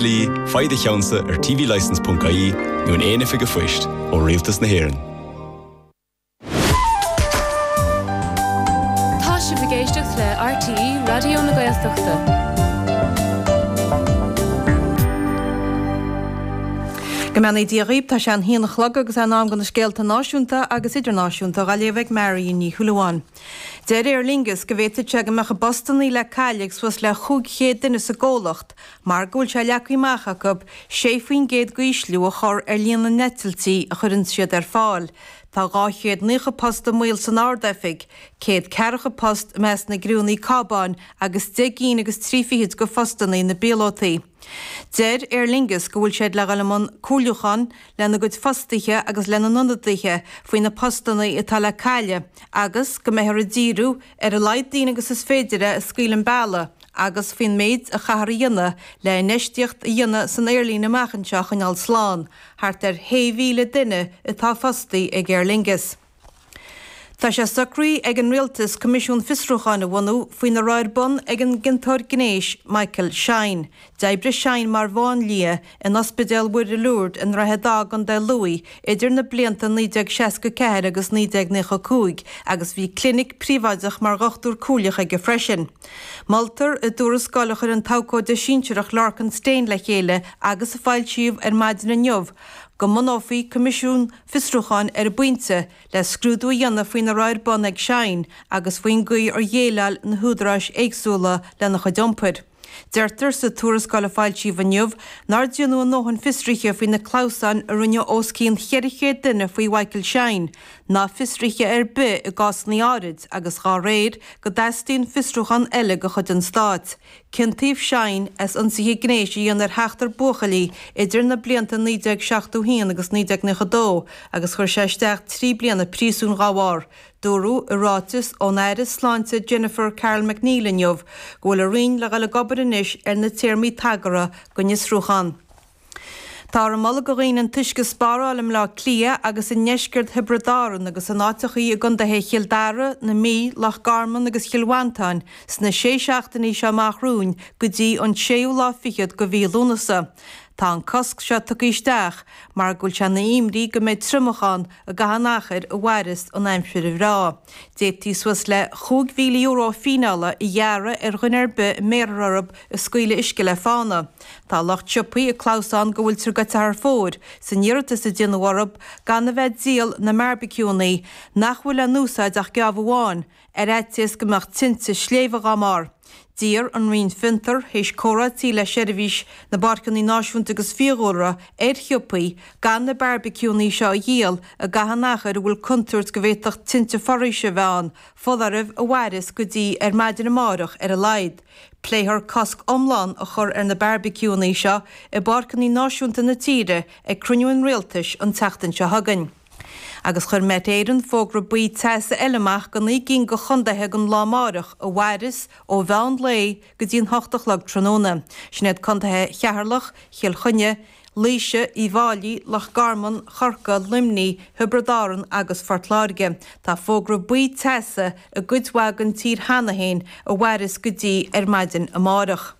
Dlí, faigh do cheannsa ar tvlicence.ie nó in aon oifig an phoist ó Rialtas na hÉireann. Tá sibh ag éisteacht le RTÉ Raidió na Gaeltachta. Go mbeannaí Dia dhaoib, tá sé an haon a chlog agus é in am do na scéalta náisiúnta agus idirnáisiúnta dhá léamh ag Marion Ní Shúilleabháin. Deir Aer Lingus go bhféadfadh sé go mbeadh a bpostannaí le cailleadh ag suas le 500 duine sa gcomhlacht mar go bhfuil sé leagtha amach acu 6% d'ísliú a chur ar líon na n-eitiltí a chuireann siad ar fáil. Tá 290 post i mbaol san Ard-Oifig, 140 post i measc na gcriúnnaí cábáin agus deich gcinn agus trí fichid de phostannaí na bpíolótaí. Deir Aer Lingus go bhfuil siad le dhul i mbun comhairliúchán lena gcuid fostaithe agus lena n-ionadaithe faoi na postannaí atá le cailleadh agus go mbeifear ag díriú ar a laghad daoine agus is féidir a scaoileadh an bealach agus faoin méid a chaithfear a dhéanamh le infheistíocht a dhéanamh san aerlíne amach anseo a choinneáil slán, thart ar 6,000 duine atá fostaithe ag Aer Lingus. Tá sé socraithe ag an Rialtas coimisiún fiosrúcháin a bhunú faoina raibh ar bun ag an gciontóir gnéis Michael Shine. D'oibrigh Shine mar mháinlia in Ospidéal Mhuire Lourdes i nDroichead Átha i gContae Lú idir na blianta 1964 agus 1995 agus bhí clinic príobháideach mar dhochtúir comhairleach aige freisin. Moltar i dtuarascáil a chuir an t-abhcóide sinsearach Lorcan Stane le chéile agus a foilsíodh ar maidin inniu go mbunófaí coimisiún fiosrúcháin ar an bpointe le scrúdú a dhéanamh faoina raibh ar bun ag Shine agus faoin gcaoi ar dhéileáil na húdaráis éagsúla lena chuid iompair. Deirtear sa tuarascáil a foilsíodh inniu nár déanadh a ndóthain fiosruithe faoi na clamhsáin a rinneadh os cionn 400 duine faoi Mhichael Shine, ná fiosruithe ar bith i gcásanna áirid agus dhá réir go dteastaíonn fiosrúchán eile de chuid an stáit. Ciontaíodh Shine as ionsaithe gnéis a dhéanamh ar sheachtar buachaillí idir na blianta 1971 agus 1992 agus chuir sé isteach 3 bliana príosúin dhá bharr. Dúradh i ráiteas ón Aire Sláinte Jennifer Carroll MacNeill inniu go bhfuil a roinn le dhul ag obair anois ar na téarmaí tagartha don fhiosrúchán. Táthar ag moladh do dhaoine an t-uisce a spáráil i mBleá Cliath agus i ndeisceart Thiobraid Árann agus in áiteachaí i gcontaetha Chill Dara, na Mí, Loch Garman agus Chill Mhantáin sna sé seachtainí seo amach romhainn go dtí an séú lá fichead de mhí Lúnasa. Tá an cosc seo tugtha isteach mar go bhfuil sé ina imní go mbeidh triomach ann i gcaitheamh an achair a mhairfeas an aimsir bhreá. D'fhéadfaí suas le €5,000 fíneála a ghearradh ar dhuine ar bith a mbéarfar orthu ag scaoileadh uisce le fána. Tá lucht siopaí ag clamhsán go bhfuiltear goite thar fóir san iarratas a déanadh orthu gan a bheith ag díol na mbearbaiciúnnaí, nach bhfuil le n-úsáid ach geábh amháin, ar fhaitíos go mbeadh tinte sléibhe dhá mbarr. D'iarr an Roinn Fiontar, théis comhráití le Seirbhís na bPáirceanna Náisiúnta agus Fiadhúlra, ar shiopaí gan na bearbaiciúnnaí seo a dhíol i gcaitheamh an achair a bhfuil contúirt go bhféadfadh tinte foraoise a bheith ann, foláireamh a mhairfeas go dtí ar maidin amárach ar a laghad. Pléifear cosc iomlán a chur ar na bearbaiciúnnaí seo i bpáirceanna náisiúnta na tíre ag cruinniú an Rialtais an tseachtain seo chugainn. Agus chuir Met Éireann fógra buí teasa eile amach do 9 gcinn de chontaetha don lá amárach a mhairfeas ó mheán lae go dtí an hocht a chlog tráthnóna. Sin iad contaetha Cheatharlach, Chill Chainnigh, Laoise, Uíbh Fháilí, Loch Garman, Chorcaí, Luimnigh, Thiobraid Árann agus Phort Láirge. Tá fógra buí teasa i gcuid mhaith den tír cheana féin a mhairfeas go dtí ar maidin amárach.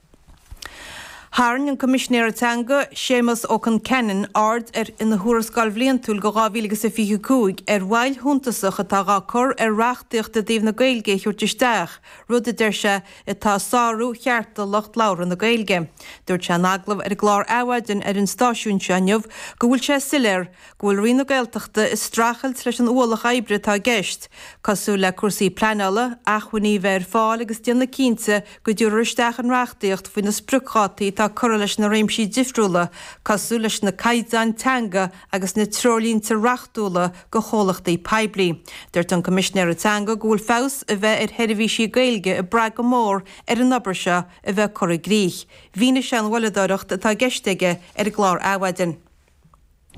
Tharraing an Coimisinéir Teanga, Séamus Ó Concheanainn, aird ar ina thuarascáil bhliantúil do 2025 ar mhoill shuntasach atá dhá cur ar reachtaíocht i dtaobh na Gaeilge a thabhairt isteach, rud a deir sé atá ag sárú chearta lucht labhartha na Gaeilge. Dúirt sé in agallamh ar an gclár Adhmhaidin ar an stáisiún seo inniu go bhfuil sé soiléir go bhfuil Roinn na Gaeltachta ag streachailt leis an ualach oibre atá i gceist, cosúil le cúrsaí pleanála, acmhainní a bheith ar fáil agus déanamh cinnte go dtabharfar isteach an reachtaíocht faoi na spriocdhátaí atá curtha leis na réimsí difriúla cosúil leis na caighdeáin teanga agus na treoirlínte reachtúla do chomhlachtaí poiblí. Dúirt an Coimisinéir Teanga go bhfuil feabhas a bheith ar sheirbhísí Gaeilge ag brath go mór ar an obair seo a bheith curtha i gcrích. Mhínigh sé an mhoilleadóireacht atá i gceist aige ar an gclár Adhmhaidin.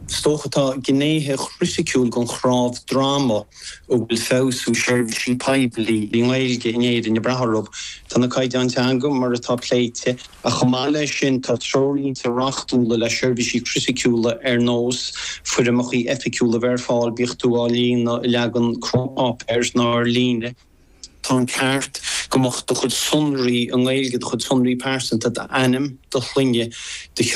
Is dócha tá gnéithe chriticiúil den chnámh droma a bhfuil feabhsú seirbhísí poiblí i nGaeilge in Éirinn ag brath orthu. Tá na caighdeáin teanga mar atá pléite, Ach chomh maith leis sin, tá treoirlínte reachtúla le seirbhísí criticiúla ar nós foirmeacha oifigiúla a bheith ar fáil, bíodh tú á líonadh i leagan crua páipéir ná ar líne. Tá an ceart go mbeadh do chuid sonraí i nGaeilge, do chuid sonraí pearsanta, d'ainm, do shloinne, do.